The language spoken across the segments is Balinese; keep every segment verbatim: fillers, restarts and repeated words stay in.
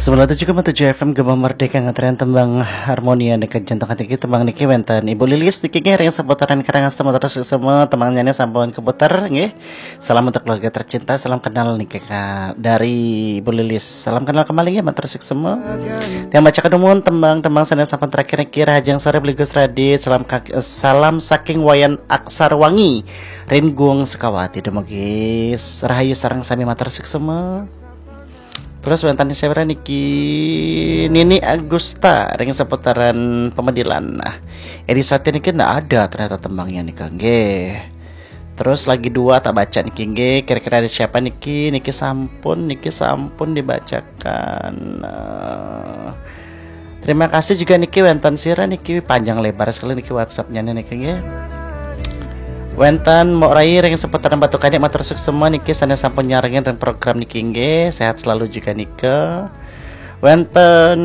Sembilan tujuh koma tujuh F M Gema Merdeka, ngetren tembang harmonia dekat jantung hati kita. Tembang niki wénten Ibu Lilis niki nggih, ring seputaran Karangasem, terus semua tembangnya ini sampun keputar nggih. Salam untuk keluarga tercinta, salam kenal niki Kak, dari Ibu Lilis. Salam kenal kembali nggih, matur suksma. Tiang baca kedumun tembang-tembang sané sampun terakhir niki, Rahajeng Sore Beli Gus Radit, salam kak-, salam saking Wayan Aksar Wangi, Ringgung Sukawati, dumugi rahayu sareng sami, matur suksma. Terus wénten sira niki, Nini Agusta ring seputaran Pemedilan. Nah, Edi Satya niki ndak ada ternyata tembangnya nika nggih. Terus lagi dua tak baca niki nggih. Kira-kira ada siapa niki? Niki sampun, niki sampun dibacakan. Eh, terima kasih juga niki, wénten sira niki, panjang lebar sekali niki WhatsApp-nya niki nggih. Wénten Mbok Rai ring seputaran Batu Kanik, matur suksma niki sané sampun nyarengin ring program niki nggih. Sehat selalu juga nika. Wénten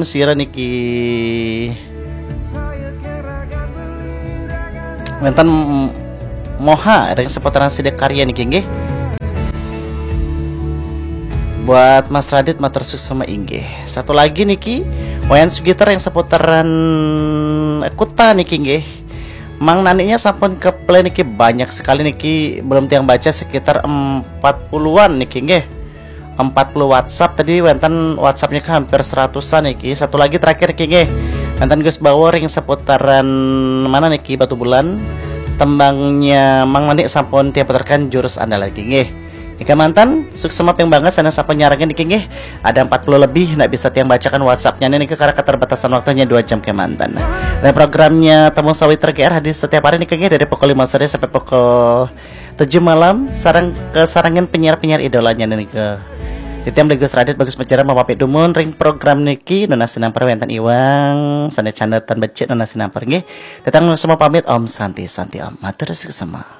sira niki, wénten Moha ring seputaran Sidakarya niki nggih. Buat Mas Radit, matur suksma inggih. Satu lagi niki, Wayan Sugita ring seputaran Kuta niki nggih. Mang Naniknya sampun ke-play niki, banyak sekali niki, belum tiang baca sekitar empat puluhan niki nggih. Empat puluh WhatsApp, tadi wénten WhatsApp-nya ke hampir seratusan niki. Satu lagi terakhir niki nggih. Wénten Gus Bawo ring seputaran mana niki, Batubulan. Tembangnya Mang Nanik sampun tiang putarkan, Jurus Andalan niki nggih. Nika manten, suksma ping banget sané sampun nyarengin niki nggih. Ada empat puluh lebih, ndak bisa tiang bacakan WhatsApp-nya niki karena keterbatasan waktunya dua jam kémanten. Dan programnya Temu Sawitra G R hadir setiap hari niki nggih, dari pukul lima sore sampai pukul tujuh malam, sareng kasarengin penyiar-penyiar idolanya niki. Titiang Beli Gus Radit Bagus Mejara mau pamit dumun ring program niki, nunas sinampar wénten Iwang, sané canda tan becik nunas sinampar nggih. Titiang semua pamit, Om Santi, Santi Om. Matur suksma.